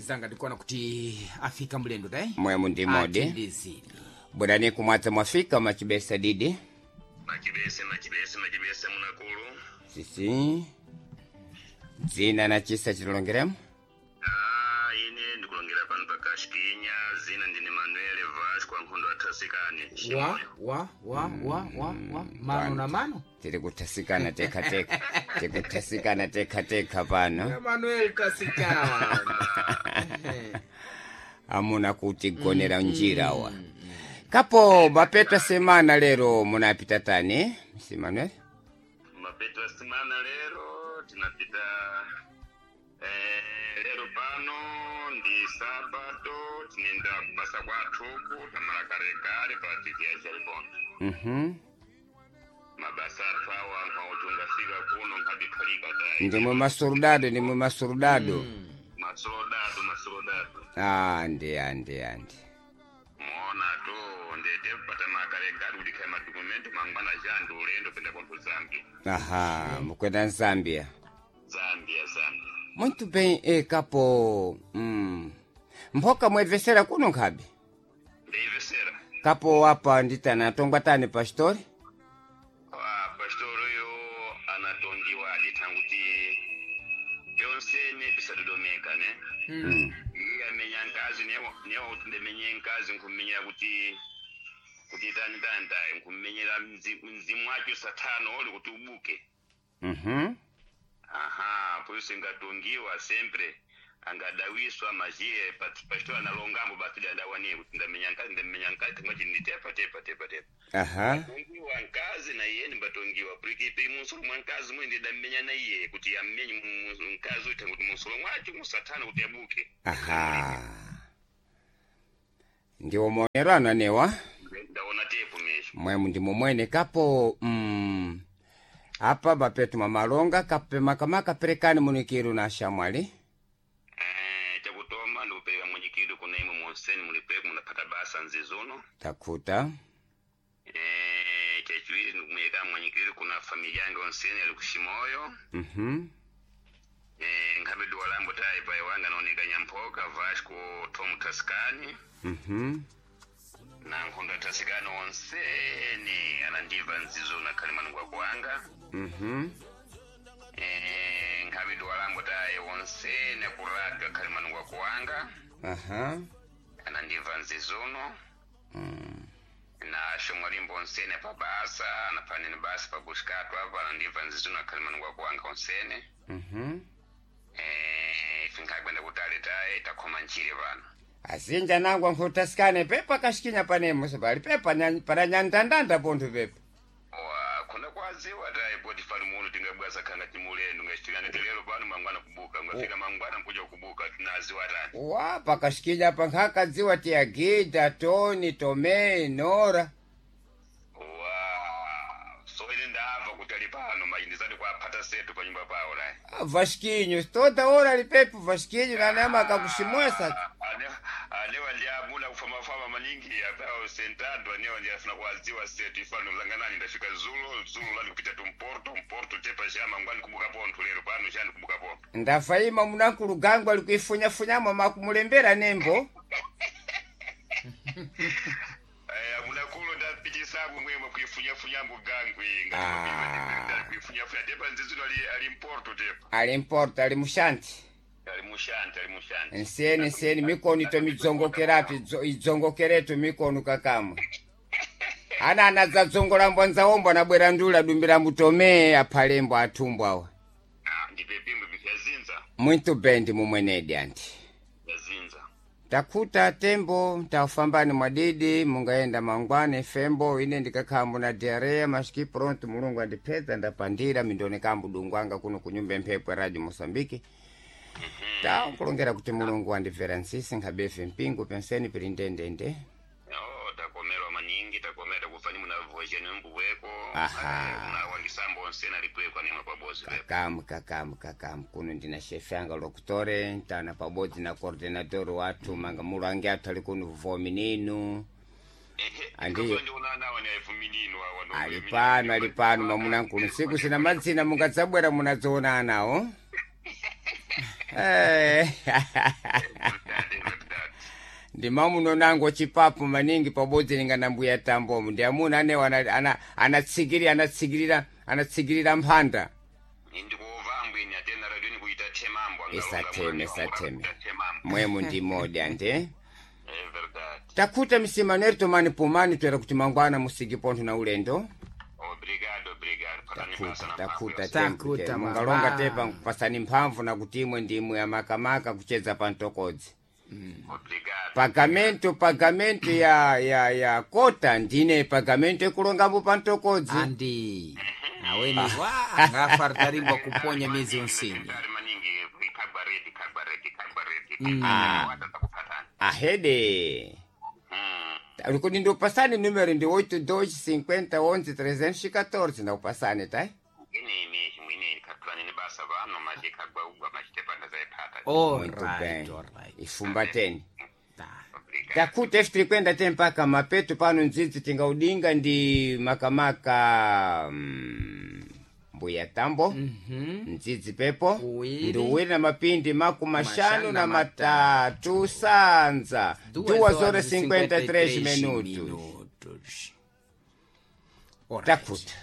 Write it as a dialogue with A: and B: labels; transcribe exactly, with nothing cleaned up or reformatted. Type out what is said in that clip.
A: Zanga ndikuona kuti afika mlendo dai
B: Mwemu ndi modi.
A: Atindizini.
B: Bwerani kumwadza mwafika machibesa didi.
C: Machibese, machibese, machibese munakulu.
B: Sisi. Dzina na chisa chilongeremo.
C: Ah, ine ndikulongera pano pa Kashikinya, zina ndine Manuel Vasco ankhondo athasikani.
A: wa wa wa wa wa wa mano na mano.
B: Tiri kuthasikana tekha tekha. Tiri kuthasikana tekha tekha pano.
A: Manuel tasikana.
B: Amuna kuti gonera njira wa. Kapo mapeta semana lero munapita tani? Si Manuel?
C: Mapeto ya semana lero tinapita eh, lero pano ndi sabato tinenda kubasa kwathuku tamala kalekale pa titi ya Chalibonde.
B: Mhm.
C: Mabasa athu awa nkhauti ungafika kuno nkhabikhalika tayi.
B: Ndimwe masurudado, ndimwe masurudado.
C: Masolodado, masolodado.
B: Ah, ndi andi andi.
C: Muona tu ndete pata makalekale kuti khaya madokumento mangwana jandu ulendo penda kwanthu Zambia.
B: Aha, mukwenda Zambia.
C: Zambia, Zambia.
B: Muito bem, e kapo. Mm. Mphoka mwebvesera kuno nkhabe.
C: Ndeyivesera.
B: Kapo apa nditana tongwa tani pastori?
C: Ah, pastor uyo anatongiwa adithanguti byonsene bisadodomeka ne
B: Mm.
C: iye amenya nkazi newa kuti ndimenye nkazi nkumenyera kuti kuti tani tani tayi nkumenyera mzi- mzimu wacho sathano oli kuti ubuke.
B: Mhm.
C: Aha, poiso ingatongiwa sempre angadawiswa majiye pastor analongambo basi adawanie kuti ndamenya nkazi ndamenya nkazi timwachi nditepa tepa tepa tepa.
B: Aha.
C: Tongiwa nkazi na iye nimbatongiwa puriki piri munsolo mwa nkazi mwe ndidamenya na iye kuti ammenye mu- mu- nkazi uite kuti munsolo mwacho musathana kuti abuke.
B: Aha. Ndiwo maonero ananewa.
C: Ndaona tepo mesho.
B: Mwemu ndimo mwene kapo mm. Apa bapetu mamalonga kape makamaka perekani munikiru na shamwali.
C: Eh, chakutoma ndikupereka mwenyekiti kuna imwe monseni mulipeko munapata basa nzizuno.
B: Takuta.
C: Eh, chachiwiri ndikumuyeka mwenyekiti kuna familia yange onseni ali kushimoyo.
B: Mhm.
C: Eh, nkhabe duwa lambo tayi pai wanga naoneka Nyamphoka Vasco Tom Taskani.
B: Mhm.
C: Na nkhondo atasikani onseni anandibva nzizuno akhali manungwa kwanga.
B: Mhm.
C: Eh, nkhabe duwa lambo tayi onseni akuradio akhali manungwa kuwanga.
B: Aha.
C: Anandibva nzizuno.
B: Mm.
C: Na shomwalimbo onsene pa basa napanene basa pa bushikatu apa anandibva nzizuno akhali manungwa kuwanga onsene.
B: Mhm.
C: Eh, ife nkhagwenda kutali tayi takhoma nchire pano.
B: Azinja nangwa nkutasikane pepa kashikinya panemo sebali pepa nya- para nyandandanda pontho pepa.
C: Wa khona kwaziwa tayi poti fani muno tingabwaza khanga timulendo ngachitikana telero pano mangwana kubuka ngafika mangwana nkuja kubuka tinaziwa tani.
B: Wa pakashikinya pa nkhakadziwa tiyagida Toni Tome Nora.
C: Wa so ine ndabva kuti ali pano mayi ndizati kwaphata setu pa nyumba pawo nayi.
B: Ah, Vasquinho, toda hora ali pepo Vasquinho na nema akakushimwesa.
C: Anewa ndi amuna kufamafama maningi apawo sentado anewa ndi afuna kuwaziwa setu ifano langanani ndafika zulo zulo lani kupita tumporto mporto tepa chama ngwani kubuka pontho lero pano chani kubuka pontho.
B: Ndafaima munankulu gangu ali kuifunyafunyamo makumulembera nembo.
C: Eh, amunakulu ndapitisabu mwemwe kuifunyafunyambo gangwi
B: Ah.
C: kuifunyafunya tepa nzizuno ali ali mporto tepa.
B: Ali mporto ali mushanti.
C: Ali mushanti ali mushanti.
B: Nseni nseni mikono ito midzongokerapi idzo- idzongokeretu mikono kakamwe. Ana anadzadzongola nzaombo anabwera ndula dumbira mutome aphalembo athumbo awa.
C: Ah, ndipe pimbo vyazinza
B: Muito bem ndi mumwenedi anti.
C: vyazinza.
B: Takuta tembo tafambani mwadidi mungaenda mangwane fembo ine ndikakhala muna diarrea masiki pronto mulungu andipedza ndapandira mindoneka mudungu kuno kunyumba mphepo ya radio Moçambique. Takulongera kuti mulungu andibvera nsisi nkhabefe mpingo penseni pili ndendende.
C: Oh, takomerwa maningi takomera kufani munavoja nembuweko.
B: Aha.
C: Munawangisambo onsena likwekwa nemwe pabozi pepo.
B: Kakamu kakamu kakamu kuno ndina shefe anga lokutore ntana pabodzi na coordinator wathu manga mulangi athu ali kuno vomininu.
C: Ehe,
B: Andiyo.
C: ndiona nawo ni ayifuminino awa ndo
B: Ali pano ali pano mamunankulu nsiku sina madzina mungadzabwera munadzoona anawo. Eh. Ndi mamuno nango chipapu maningi pabodzi linga na mbuya tambomu ndi amuna anewo ana- ana- anatsigirira anatsigirira anatsigirira mphanda.
C: Ndikuova ambwini atena radio nikuita temambo.
B: Isateme, isateme. Mwemu ndi modi ande.
C: É verdade.
B: Takhuta msimaneri tomani pumani twera kuti mangwana musiki pontho na ulendo.
C: Obrigado, obrigado. Patani basa
B: Takhuta
C: na
B: takhuta
C: mphamvu.
B: tembo
A: Takhuta,
B: mungalonga
A: baba.
B: tepa nkupasani mphamvu na kuti imwe ndimwe amakamaka kucheza pa mtokodzi.
C: Obrigado.
B: Pagamento pagamento ya ya ya kota ndine pagamento ekulongambo pa mtokodzi.
A: Andi aweni wa ngafartaringwa kuponya miezi yonsini.
C: Ndari maningi ikagwa redi kagwa redi kagwa redi.
B: Ah.
C: Watakupatana.
B: Ahede.
C: Mm.
B: Kuti ndiupasani numero ndi oito dois cinquenta onze trezentos e catorze ndaupasani tai.
C: Ine mesmo ine ikatulani ni basa vano maji kagwa ugwa machitepanda zaipata.
B: Muito
A: Alright,
B: bem.
A: alright.
B: Ifumbateni.
A: Ta.
C: Obrigado.
B: Takuta F tirikwenda te mpaka mapeto pano ndzidzi tingaudinga ndi makamaka mm, mbuya tambo.
A: Mhm.
B: Ndzidzi pepo
A: Uwiri.
B: ndi uwiri na mapindi maku mashanu
A: Mashanu
B: na
A: na
B: matatu sanza duas horas cinquenta e três minutos.
A: minutos. Alright.
B: Takuta.